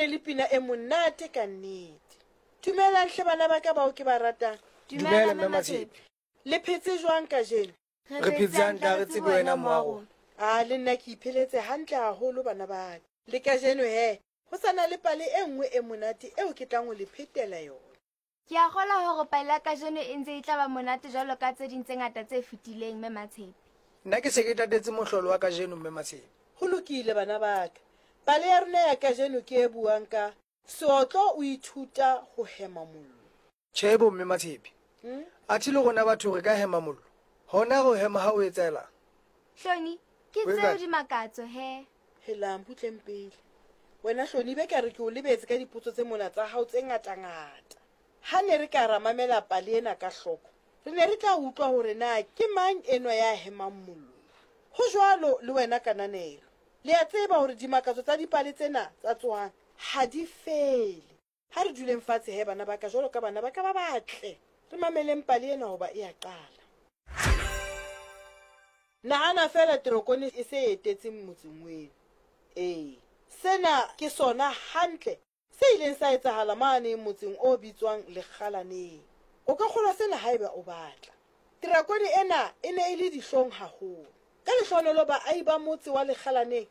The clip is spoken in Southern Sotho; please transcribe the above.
ne le pina e monate ka nnete. Dumelang hle bana ba ka bao ke ba ratang. Dumela Mme Matshepe. Le phetse jwang kajeno? Re phetse hantle ha re tsebe wena mma rona. A le nna ke ipheletse hantle haholo bana ba ka. Le kajeno he, ho sa na le pale e nngwe e monate eo ke tlang ho le phetela yona. Ke a kgolwa hore pale ya kajeno e ntse e tla ba monate jwalo ka tse ding tse ngata tse fetileng, Mme Matshepe. Nna ke se ke tatetse mohlolo wa kajeno, Mme Matshepe. Ho lokile bana ba ka. Pale ya rona ya kajeno ke e buang ka Seotlo o ithuta ho hema mollo. Tjhe bo, Mme Matshepe. Athe le rona batho re ka hema mollo? Hona re o hema ha o etsahelang? Hloni, ke Ho tseo etsang? dimakatso he. Helang, butleng pele. Wena Hloni, be ka re ke o lebetse ka dipotso tse mona tsa hao tse ngatangata. Ha ne re ka ra mamela pale ena ka hloko, re ne re tla utlwa hore na ke mang enwa ya hemang mollo. Ho jwalo le wena Kananelo. Le a tseba hore dimakatso tsa dipale tsena tsa Tsohang ha di fele. Ha re duleng fatshe he bana ba ka jwalo ka bana ba ka ba batle. Re mameleng pale ena hoba e a qala. Nahana feela terokone e se e etetse motseng weno. Ee, sena ke sona hantle se ileng sa etsahala mane motseng o bitswang Lekgalaneng. O ka kgolwa sena haeba o batla. Terakone ena e ne e le dihlong haholo. Ka lehlohonolo baahi ba motse wa Lekgalaneng